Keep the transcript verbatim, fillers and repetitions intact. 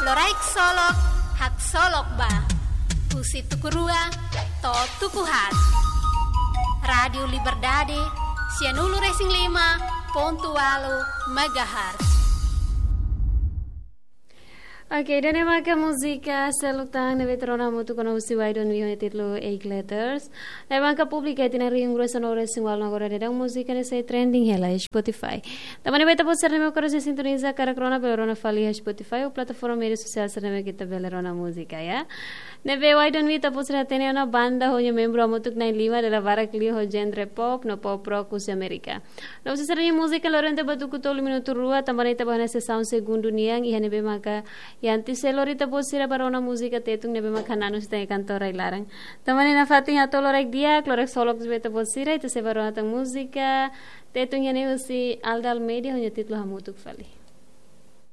Loraik Solok, haksolok ba. Husi tuku rua to'o tuku haat. Rádiu Liberdade, sianulu-resin-lima pontu ualu megahertz. Oke, ida-ne'e maka múzika seluk tan ne'ebé ita rona hamutuk ona husi Why Don't We ho títulu Eight Letters. Ne'ebé maka publika iha tinan rihun rua sanulu-resin-ualu, agora daudaun múzika ne'e sei trending hela iha Spotify. Tanba ne'e ba ita-boot sira ne'ebé maka sei sintoniza karik rona, bele rona fali iha Spotify ou plataforma média sosiál sira ne'ebé ita bele rona múzika, ya. Ne'ebé Why Don't We ita-boot sira hatene ona banda ho nia membru hamutuk na'in-lima, dala barak liu ho genre pop no pop rock husi Amérika. No husi sira-nia múzika lori ona tiha ba tuku tolu minutu rua, tanba ne'e ita ba ona sesaun segundu nian, iha ne'ebé maka iha antes sei lori ita-boot sira ba rona múzika Tetun ne'ebé maka hananu husi ita-nia kantor rai-laran. Tanba ne'e nafatin hato'o loraik di'ak, loraik solok ba ita-boot sira, ita sei ba rona tan múzika Tetun iha ne'e husi Alda Almeida ho nia títulu Hamutuk Fali.